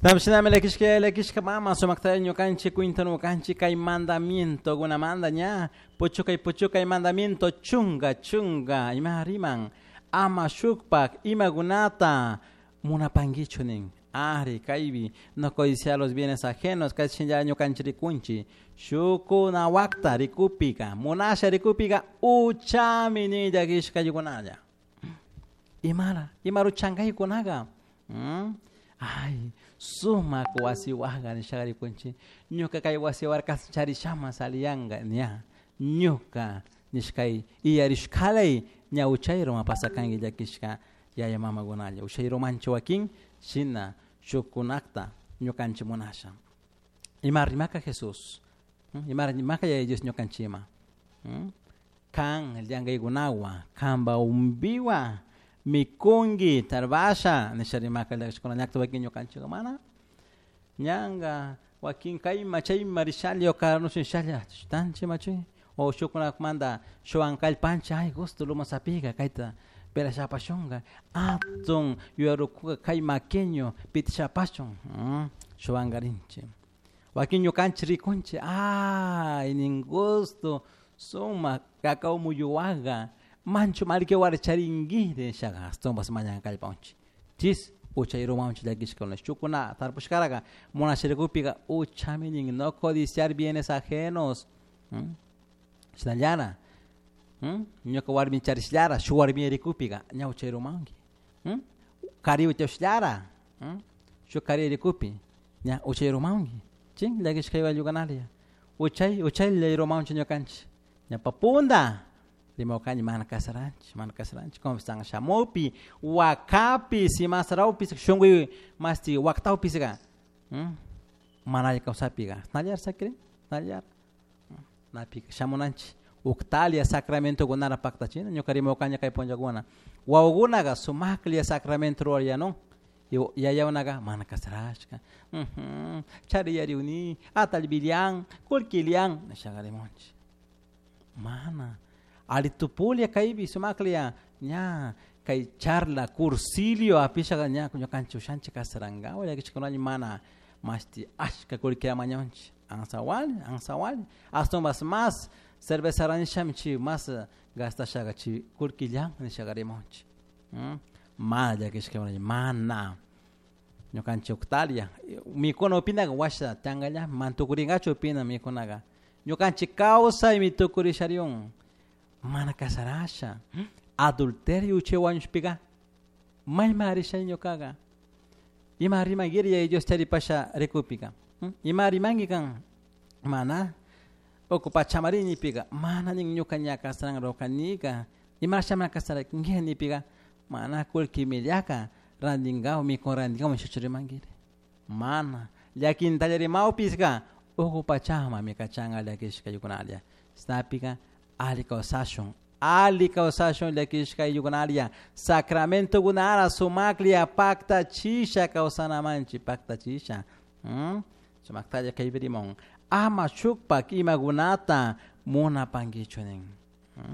Shinami llakishka llakishka mama sumakta ñukanchik cuintanukanchik kay mandamiento kunamanta ña puchukay puchukay mandamiento chunga chunga ima riman ama shukpak imakunata munapankichu nin ari kaypi no codiciar los bienes ajenos kay shinlla ñukanchik rikunchik shukunawakta rikupika munasha rikupika uchami nin llakishka yukunalla imara imaruchankaykunaqa Ay, sumak wasiwajka nishaga rikunchik ñuka kay wasiwarka charishama saliyanka ña ñuka nishkay iyarishkalay ña uchayruman pasakanki llakishka yaya mamakunalla uchayrumanchu wakin shina shukkunakta ñukanchik munasha ima rimaka Jesús ima rimaka yaya Dios ñukanchikman kan llankaykunawan kanpa umbiwan mikunki tarbasha nisha rimaka llakishkuna ñakta wakin ñukanchikka mana ñanka wakin kayma chayma rishalla o karnushalla tanchik machi o shukkunamanta shuwan kallpanchik ay gusto loma sapika kayta pelashapashunka atun yuyarukuka kay maqueño pitishapashun shuwankarinchik wakin ñukanchik rikunchik ay nin gusto sumak cacao muyuwaqa manchu mallki warcharinki nishaqa ashtawanpas mañan kallpawanchik chis uchayrumanchik llakishkuna shukuna tarpushkaraka munasharikupika uchami nin no codiciar bienes ajenos shinallara ñuka warmi charishllara shuk warmi rikupika ña uchayrumanki kari utyashllara shuk kari rikupi ña uchayrumanki chin llakishka igual uchay uchaylla rumanchik ñukanchik ñapa punda rimawkani mana kasaranchik mana kasaranchik confesan shamupi wakapi simasrawpis shunkuy masti waktawpisqa mana alli kawsapika nallar sakirin nallar napika shamunanchik uktalia sacramentokunara paktachina ñuka rimawkani kay punllakuna wawakunaka sumaklla sacramento rurayanun yayakunaka mana kasarashka chariyariuni atallpillan kullkillan nishaqa rimunchik mana alli tupulla kaypi sumaklla ña kay charla cursilio apishaka ña ñukanchik ushanchik kasarankawa llakishkunalla mana mashti ashka kullkita mañanchik ansawali ansawali ashtawanpas mas cerveza rantishami chay mas gastashaka chay kullkillan nishaka rimunchik mana llakishka mana ñukanchik uktalia mikuna upinaka washa tiyankallami mana tukurinkachu upina mikunaka ñukanchik kawsaymi tukurishariun mana kasarasha adulterio uchay wañushpika mayman rishay ñukaka ima rimankiri yaya Dios charipasha rikupika ima rimanki kan mana uku pachamari nipika mana nin ñuka ña kasaranrukanika imasha mana kasaranki nipika mana kullkimillaka rantinkawa mikun rantinkawa nishachu rimankiri mana llakintalla rimawpiska uku pachamami kachanka llakishka ayllunalla shinapika alli kawsashun alli kawsashun llakishka ayllunalla sacramentokunara sumaklla paktachisha kawsanamanchik paktachisha sumaktalla kaypi rimun ama shukpak imakunata munapankichu nin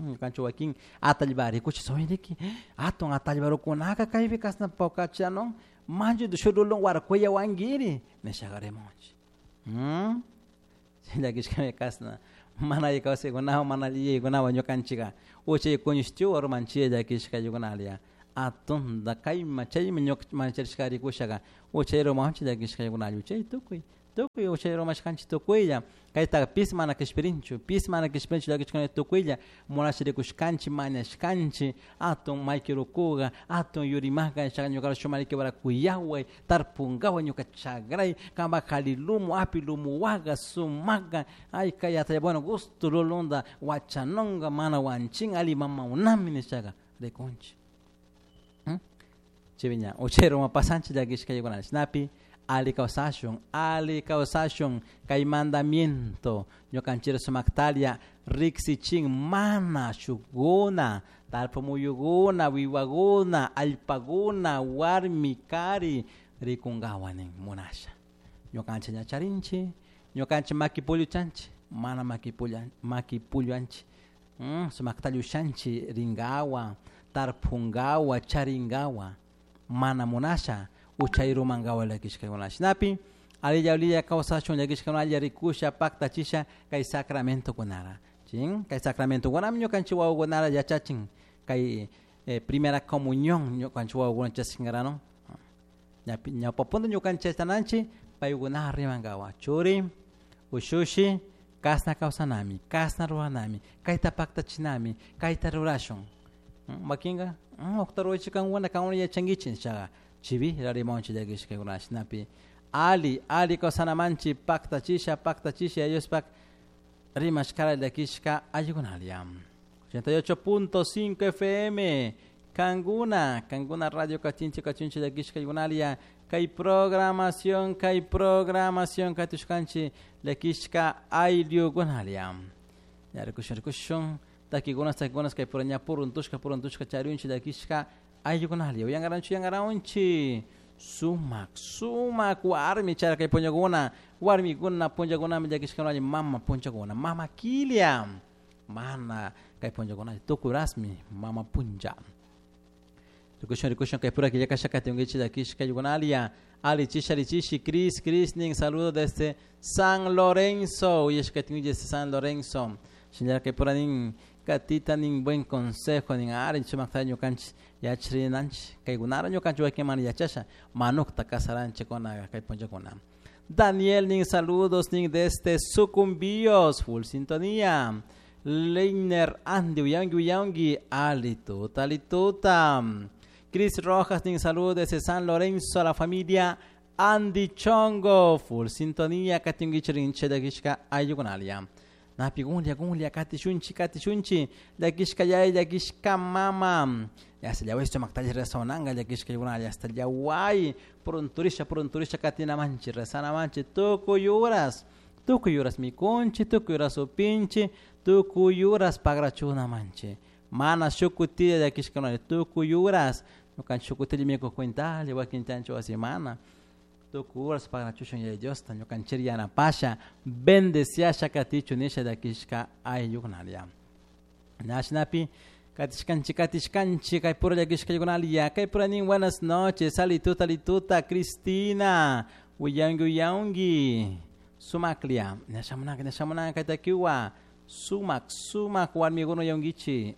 ñukanchik wakin atallpa rikuchik soyriki atun atallparukunaka kaypi kashna pawkachanun manchu shurulun warkuyawankiri nishaka rimunchik llakishkami kashna mana alli kawsaykunawan mana alli yuyaykunawan ñukanchika uchay kuñushtiwa rumanchik llakishka ayllunalla atunta kayman chayman ñuka mancharishka rikushaka uchay rumanchik llakishka ayllunalla uchay tukuy tukuy uchay rumashkanchik tukuylla kaytaka pis mana kishpirinchu pis mana kishpirinchu llakishkuna tukuylla munasha rikushkanchik mañashkanchik atun maykirukuka atun yurimaka nishaka ñuka shuk mallkiwara kuyaway tarpunkawa ñuka chakray kanpak kali lumu api lumuwaka sumaka ay kay atalla bueno gusto lulunta wachanunka mana wanchin alli mamaunami nishaka rikunchik chaypi ña uchayruman pasanchik llakishka shinapi alli kawsashun alli kawsashun kay mandamiento ñukanchik sumaktalla riksichin mana shukuna tarpumuyukuna wiwakuna allpakuna warmi kari rikunkawan nin munasha ñukanchik ña charinchik ñukanchik maki pulluchanchik mana maki pulla maki pulluanchik sumaktalla ushanchik rinkawan tarpunkawan charinkawan mana munasha. Uchayrumankawa llakishkakuna shinapi alilla alilla kawsashun llakishkakuna alla rikusha paktachisha kay sacramentokunara chin kay sacramentokunami ñukanchik wawakunara yachachin kay primera comunión ñukanchik wawakuna chaskinkarano ñawpapunta ñukanchik yachananchik paykuna rimankawa churi ushushi kasna kawsanami kasna ruranami kayta paktachinami kayta rurashun makinka uqta rurachik kankuna kankuna yachankichik nishaqa chivi rimanchik llakishkakuna shinapi ali ali kawsanamanchik paktachisha paktachisha Diospaq rimashkara llakishka allikunalla 88.5 FM Kanguna Kanguna Radio Kachinchi Kachinchi llakishka allikunalla kay programación katushkanchik llakishka ayllukunalla ya rikushun rikushun takikunas takikunas kay pura ña puruntushka puruntushka charunchik llakishka ayllukunalla uyankaranchik uyankaranchik sumak sumak warmi chara kay punllakuna warmikuna punllakunami llakishkanalla mama punllakuna mama kilia mana kay punllakuna tukurasmi mama punlla rikushun rikushun kay pura killakasha katinkichik llakishka ayllukunalla alichisha alichishi Cris Cris nin saludo desde San Lorenzo uyashkatinkichik desde San Lorenzo shinallar kay pura nin katita nin buen consejo nin ari chumakta ñukanchik yachrinanchik kaykunara ñukanchik wakin mana yachasha manukta kasaranchikuna kay punllakuna Daniel nin saludos nin desde Sucumbíos full sintonía Leiner Andy uyangi uyangi alituta alituta Chris Rojas nin saludos desde San Lorenzo a la familia Andy Chongo full sintonía katinkichik llakishka ayllukunalla napi gunlla gunlla katishunchik katishunchik llakishka yaya llakishka mama hasta llaway sumaktalla rezananka llakishka ayllukunalla hasta llaway purunturisha purunturisha katinamanchik rezanamanchik tukuy uras mikunchik tukuy uras upinchik tukuy uras pagrachunamanchik mana shuk kutilla llakishka tukuy uras ñukanchik shuk kutilla mikuj cuentalla wakin chanchik wasi mana tukuy uras pagrachushun Yaya Diosta ñukanchik yanapasha bendeciasha katichu nisha llakishka ayllukunalla nashnapi katishkanchik katishkanchik kay pura llakishka ayllukunalla kay pura nin buenas noches alituta alituta Cristina uyangi uyangi sumaklia ñashamunanka ñashamunanka kaytakiwa sumak sumak warmikuna uyankichik